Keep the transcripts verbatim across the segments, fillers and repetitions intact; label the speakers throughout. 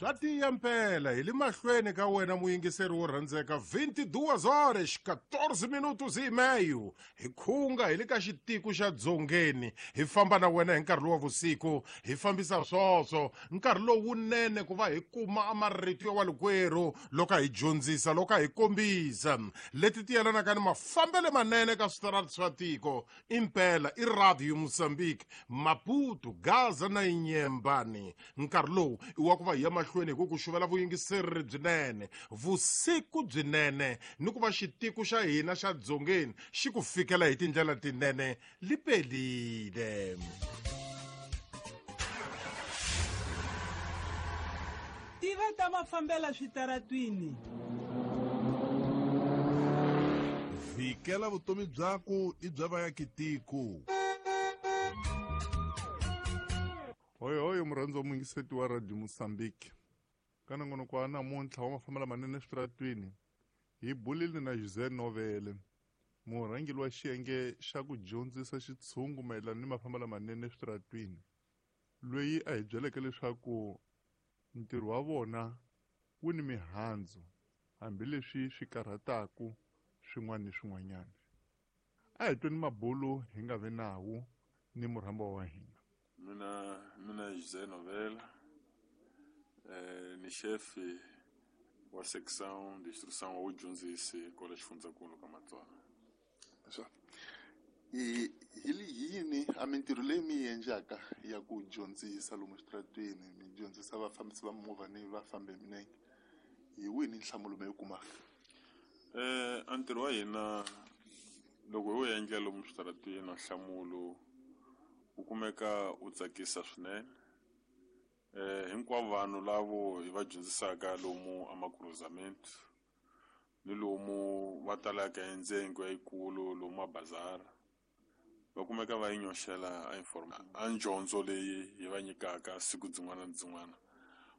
Speaker 1: Swa tiya mpela hi le mahlweni ka wena muyingiseri wo rhandzeka vinte e duas horas quatorze minutos e meio. Hi khunga hi le ka xitiko xa dzongeni, hi famba na wena hi nkarhi lowu wa vusiku, hi fambisa swoswo nkarhi lowunene ku va hi kuma a marito ya walikwerhu loko a hi dyondzisa, loko a hi kombisa leti ti yelanaka ni mafambelo manene ka switarati swa tiko. Impela i Radio Mozambique, Maputo, Gaza na Inyembani. Nkarhi lowu i wa ku va hi ya mahlweni hi ku ku xuvela vuyingiseri byinene, vusiku byinene, ni ku va xitiko xa hina xa dzongeni xi ku fikela hi tindlela tinene lipelile.
Speaker 2: Tiva ta mafambela switaratwini.
Speaker 3: Vhikela vutomi byaku i bya vayakitiko. Hoyohoyo murhandzi wa muyingiseti wa Radio Mozambique, ka nongonoko wa namuntlha wa mafambelo manene eswitaratwini hi bulile na José Novele, murhangeri wa xiyenge xa ku dyondzisa xitshungu mayelana ni mafambelo manene eswitaratwini, loyi a hi byeleke leswaku ntirho wa vona wu ni mihandzu hambileswi swi karhataku swin'wana ni swin'wanyana. A hi tweni mabulu hi nga vi nawu ni murhambiwa wa hina.
Speaker 4: Mina mina José Novela, eh, ni chefe wa seção de instrução wa vudyondzisi kwala xifundzankulu ka Matsonga.
Speaker 5: Swa hi hi yini a mintirho leyi mi yi endlaka ya ku dyondzisa lomu switaratwini, mi dyondzisa vafambisi va mimovha ni vafambi hi milenge, hi wihi ni nhlamulo mi yi kumaka?
Speaker 4: Eh, a ntirho wa hina loko hi wu endla lomu switaratwini, nhlamulo wu kumeka wu tsakisa swinene. Eh, hinkwavo vanhu lavo hi va dyondzisaka lomu amakruzamento ni lomu va talaka hi ndzengo yikulu lomu mabazara, va kumeka va yi nyoxela a informa a dyondzo leyi hi va nyikaka siku byin'wana na byin'wana.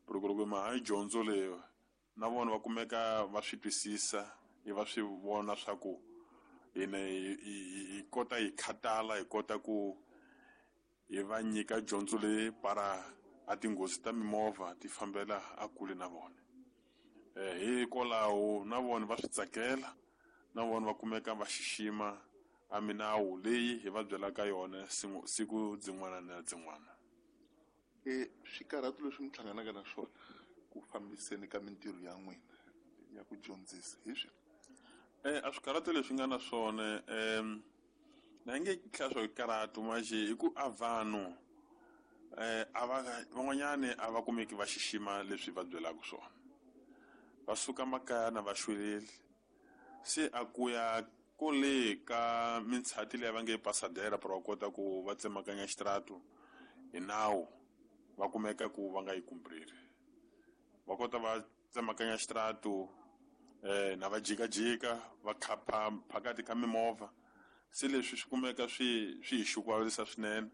Speaker 4: Loko loko ma ha dyondzo leyi na vona va kumeka va swi twisisa, i va swi vona swa ku hina hi hi kota hi khatala, hi kota ku hi va nyika dyondzo leyi para a tinghozi ta mimovha ti fambela a kule na vona. Eh, hikwalaho na vona va swi tsakela, na vona va kumeka va xixima a minawu leyi hi va byelaka yona siku byin'wana na byin'wana.
Speaker 5: E swikarhato leswi mi hlanganaka na swona ku fambiseni ka mintirho ya n'wina ya ku dyondzisa hi swi?
Speaker 4: Eh, a swikarhato leswi nga na swona, um na nge hlaya swo karhatu manje i ku a vanhu eh a va van'wanyani a va kumeki va xixima leswi va byelaka swona, va suka makaya na va xweleli, se a ku ya kole ka mintshati leyi va nge pasadera para va kota ku va tsemakanya xitaratu hi nawu, va kumeka ku va nga yi kumpriri, va kota va tsemakanya xitaratu eh na va jikajika va khapha phakati ka mimovha. Se leswi swi kumeka swi swi hi xukuvalisa swinene,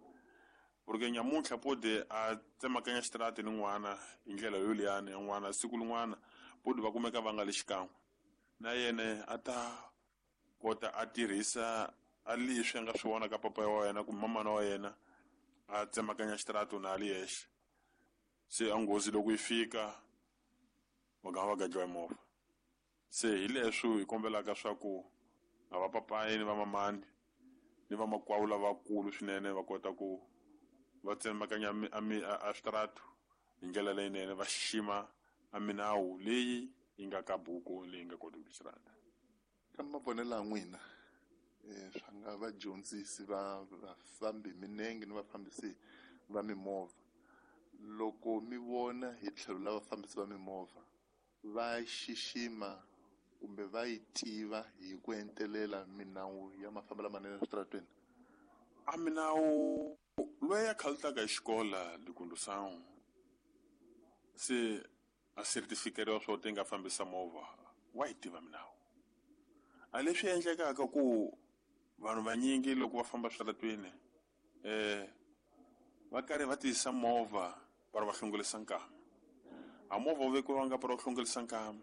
Speaker 4: porque nyamuntlha pode a tsemakanya xitarati ni n'wana hi ndlela yoliyani ya n'wana, siku lin'wana pode va kumeka va nga le xikan'we na yena a ta kota a tirhisa a leswi a nga swi vona ka papa wa yena kumbe mamana wa yena a tsemakanya xitarati na a li yexe. Se a nghozi loko yi fika va gama va gadliwa hi movha. Se hi leswi hi kombelaka swa ku a va papayi ni va mamani ni vamakwavo lavakulu swinene va kota ku va tsemakanya a switaratu hi ndlela leyinene, va xixima a minawu leyi yi nga ka buku leyi nga koti ku xirata.
Speaker 5: Ka mavonelo ya n'wina, swa nga vadyondzisi va vafambi minenge ni vafambisi va mimovha, loko mi vona hi tlhelo la vafambisi va mimovha va xixima kumbe va yi tiva hi ku entelela minawu ya mafambelo lamanene eswitarateni?
Speaker 4: A minawu loyi a khalutaka hi xikola likundusangu se a certificate swo ti nga fambisa movha wa yi tiva minawu. A leswi endlekaka ku vanhu vanyingi loko va famba switaratweni eh va karhi va tiyisa movha para va hlongolisa nkama, a movha wu vekiwanga para u hlongolisa nkama.